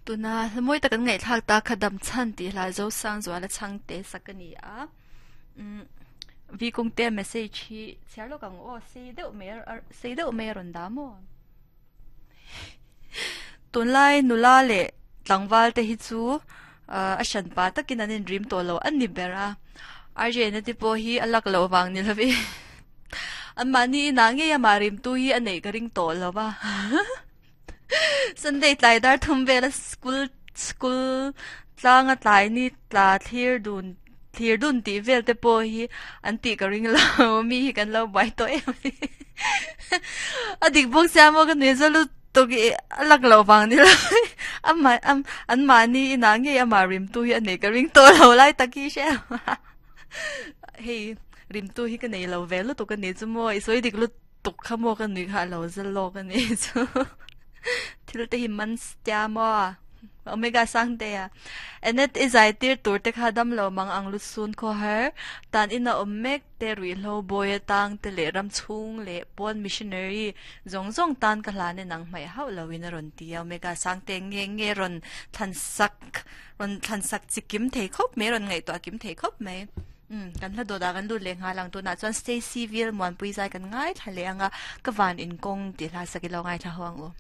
Tuna hlamawi tak an ngaihthlak ta kha dam chhan tih hla Zosang Zuala chhangte sak a ni a. Umm Vi Kungte message hi chhiar lawk ang aw sei deuh mai sei deuh mai a rawn dah maw? Tunlai nula leh tlangval te hi chu a hran pa takin an inrim tawh lo a ni ber a. Arjena te pawh hi a lak loh vang ni lovin anmahni inah ngei amah rimtu hi a neih ka ring tawh lo va. Sunday tlai dar thum vela school school tlanga tlai ni tla thlir dun thlir dun tih vel te pawh hi an tih ka ring lo mi hi kan lo buai tawh em a ni a dik bawk sia maw ka nui za lutuk i a lak loh vang ni lo amah an mahni inah ngei amah rimtu hi a nei ka ring tawh lo lai tak hi hre hei rimtu hi ka nei lo ve lutuk a ni chu maw i sawi dik lutuk. tuk kha maw ka nui kha a lo zal lawk a ni chu thil te hi man tia maw omega sang te a enet i zai tir tur te kha dam lo mang ang lut sun khaw har tan in a awm mek te ruih hlo bawi atang te leh ram chhung leh pawn missionary zawng zawng tan ka hlan in ang hmaih hauh lo in a rawn ti a omega sang te nge nge rawn thlan sak rawn thlan sak chi kim thei khawp mai rawn ngaihtuah kim thei khawp mai. Umm kan hla dawt ah kan lut leh nghal ang tunah chuan Stacy Vil Muanpui zai kan ngaithla leh ang a ka van inkawng tih hla sak ilo ngaithla ho ang u.